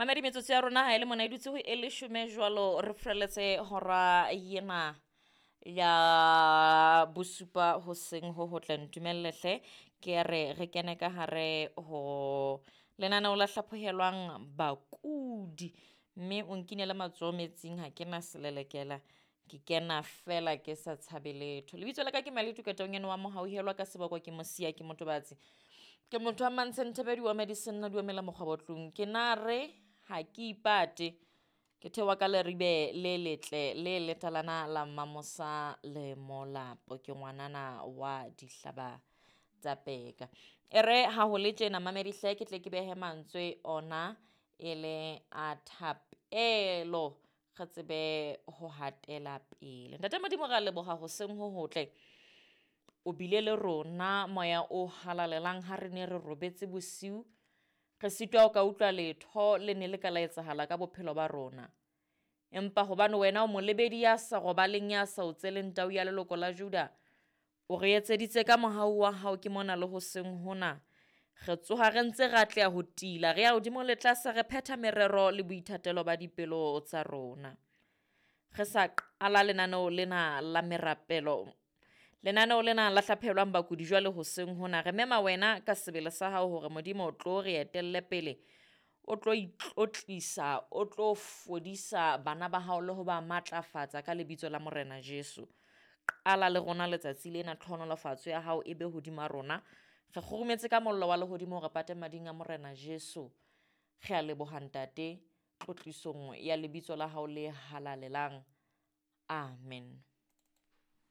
Mamedi metsotso ya rona ha e le mona e dutse ho e leshome jwalo re freletse hora yena ya bosupa hoseng ho hotle. Ntumelle hle ke re re kene ka hare ho lenaneo la hlaphohelwang bakudi, mme o nkinele matsoho metsing, ha ke na selelekela, ke kena fela ke sa tshabe letho. Lebitso la ka ke Maletu Katonyane wa Mohauhelwa, ka seboko ke Mosia, ke Motobatsi, ke motho wa Mantshentebedi wa Medicine, di omela mokgwabo tlung. Ke na re ha ke ipate, ke theoha ka leribe le letle le letalana la Mamosa le Molapo, ke ngwanana wa dihlaba tsa peka. E re ha ho le tjena mamedi hle, ke tle ke behe mantswe ona e le a thapelo, re tsebe ho hatela pele. Ntate Modimo, re a leboha hoseng ho hotle, o bile le rona moya o halalelang ha re ne re robetse bosiu, re sitwa ho ka utlwa letho le ne le ka la etsahala ka bophelo ba rona. Empa hobane wena o molebedi ya sa robaleng, ya sa o tseleng tau ya leloko la Juda, o re etseditse ka mohau wa hao. Ke mona le hoseng hona re tsoha re ntse re atleha ho tila, re ya hodimo le tlase, re phetha merero le boithatelo ba dipelo tsa rona. Re sa qala lenaneo lena la merapelo, lenaneo lena la hlaphelwang bakudi jwale hoseng hona, re mema wena ka sebele sa hao hore Modimo o tlo re etelle pele, o tlo itlotlisa, o tlo fodisa bana ba hao le ho ba matlafatsa ka lebitso la Morena Jesu. Qala le rona letsatsi lena, tlhohonolofatso ya hao e be hodima rona. Re kgurumetse ka mollo wa lehodimo, re pate mading a Morena Jesu. Re a leboha Ntate, tlotlisong ya lebitso la hao le halalelang. Amen.